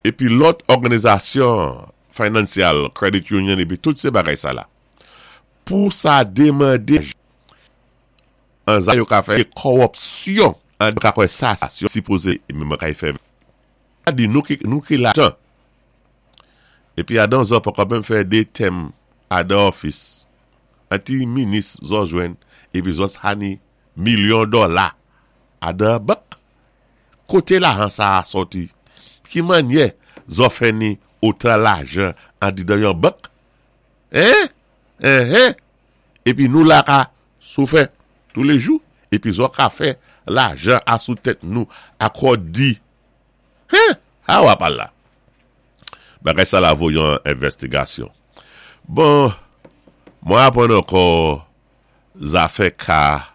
Épi lòt òganizasyon financial, credit union épi tout sé bagay sa la. Pou sa démandé an za yo ka fè kòwòpsyon an ka kwè sa yo sipozé menm kay fè di nou ki nou ki lajan épi adan zò poko menm fè 2 tèm adan òfis an ti minis zò jwenn épi zòt sa ni milyon dòla adan bank. Koté lajan sa-a sòti? Ki mannyè zò fè ni otan lajan andidan yon bank? Hein? Enhen! Épi nou la ka soufè toulejou, épi zò ka fè lajan a sou tèt nou akò di Hein! Ha wap al la? Bagay sa la vo yon envèstigasyon. Bon, mwen aprann ankò zafè ka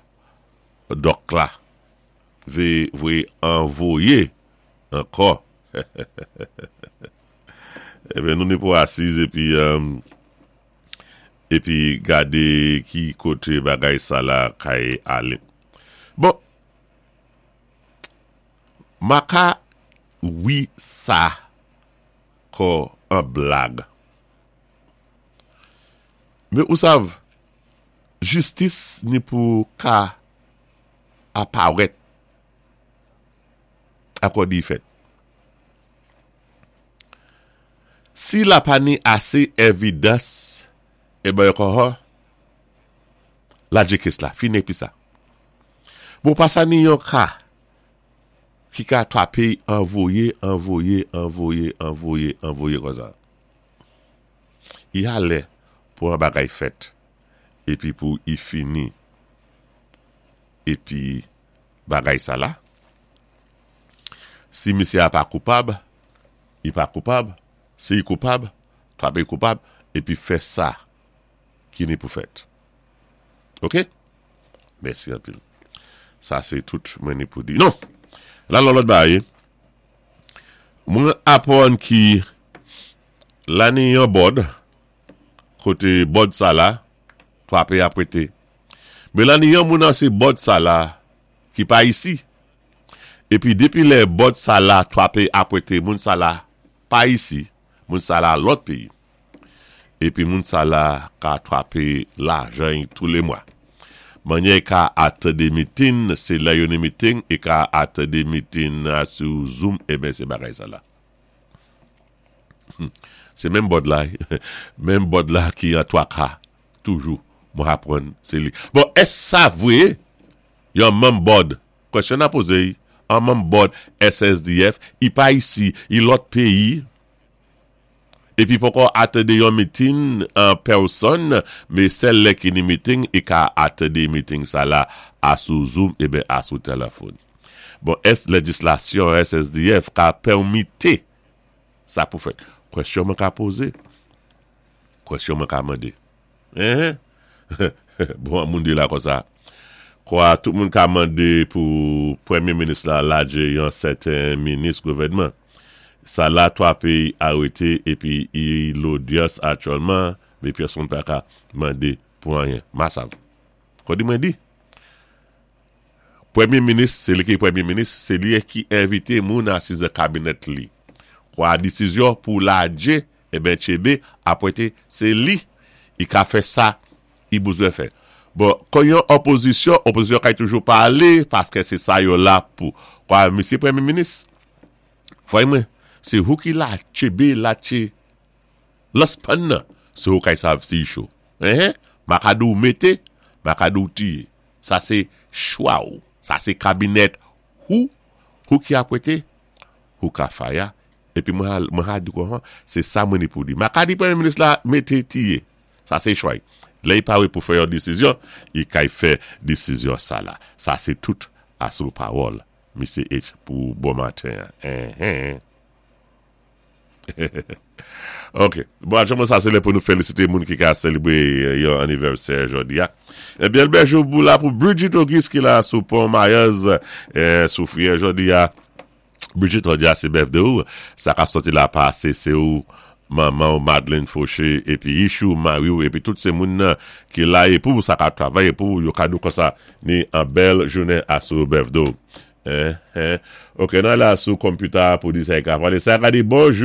dòk la. Ve vwe anvoye ankò. Eben nou ni pou asiz epi epi gade ki kote bagay sa la kay ale. Bon ma ka wi sa kò an blag. Men ou sav jistis ni pou ka aparèt akòdi fèt. Si la pa ni ase evidans e ben kòhò ladje kes la fini epi sa. Bon pa sa ni yon ka ki ka twape anvoye anvoye anvoye anvoye anvoye konsa. I a lè pou an bagay fèt epi pou i fini. Epi bagay sa la, si misye a pa koupab, i pa koupab, si i koupab, trape i koupab, epi fè sa ki ni pou fèt. Ok? Mèsi anpil. Sa se tout mwen ni pou di. Non! La lon lòt bagay. Mwen aprann ki la ni yon bòd, kote bòd sa la, trape a prete. Melanie yon moun an se bòd sa la ki pa isi epi depi lè bòd sa la twape apwete moun sa la pa isi moun sa la lòt peyi epi moun sa la ka twape lajan y tou le mwa manyè y ka atande mitin se lè yo ni mitin y ka atande mitin sou zoom eben se bagay sa la se menm bòd la menm bòd la ki an twaka toujou mwen aprann se li. Bon èske sa vre yon manm bòd kwèsyon na poze y an manm bòd SSDF i pa isi i lòt peyi epi poko atande yon mitin an pèsòn me sèl lè ki ni miting i ka atande miting sa la a sou zoom eben a sou telefon bon èske lejislasyon SSDF ka pèmite sa pou fèt kwèsyon mwen ka poze. Kwèsyon mwen ka mande. Enhen! Bon an moun di la konsa. Kwa tout moun ka mande pou premye minis la ladje yon sèten minis gouvènman. Sa la 3 peyi arete epi i lodyans aktyèlman men pyès moun pa ka mande pou anyen. Masav. Kodi mwen di. Premye minis, se li ki premye minis, se li ki envite moun asiz nan kabinèt li. Kwa desizyon pou ladje Eben Tchebe apwente se li i ka fè sa i bouzwen fè. Bon, kon yon opozisyon, opozisyon kay toujou pale paske se sa yo la pou. Kwa misye premye minis, fway mwen, se hou ki la Tchebe la tche lans pann nan, se hou kay sav si i cho. Enhen, ma ka di w mete, ma ka di w tiye. Sa se chwa w. Sa se kabinèt hou, hou ki apwente, hou ka faya Epi mwen al mwen ha di kon se sa mwen ni pou di. Ma ka di premye minis la mete tiye. Sa se chwa y. Lè y pare pou fè yon desizyon, y kay fè desizyon sa la. Sa se tout asou pawòl Misye H pou bon maten an. Enhen. Ok. Bon aktyèlman sa se lè pou nou felisite moun ki ka selebre yon anivèsè jodi a. Ebyen bèl jou pou la pou Bridget Auguste ki la sou pon Mayèz sou friyè jodi a. Brigitte jodi a se birthday ou, sa ka sòti la pa se se ou, manman ou Madeline Fauché epi Ishou mari ou epi tout se moun nan ki la e pou ou sa ka travay e pou ou yo ka di w konsa ni an bèl jounen a sou birthday ou. Ok, nan la sou computer pou di sa y ka pale. Sa ka di bonjou.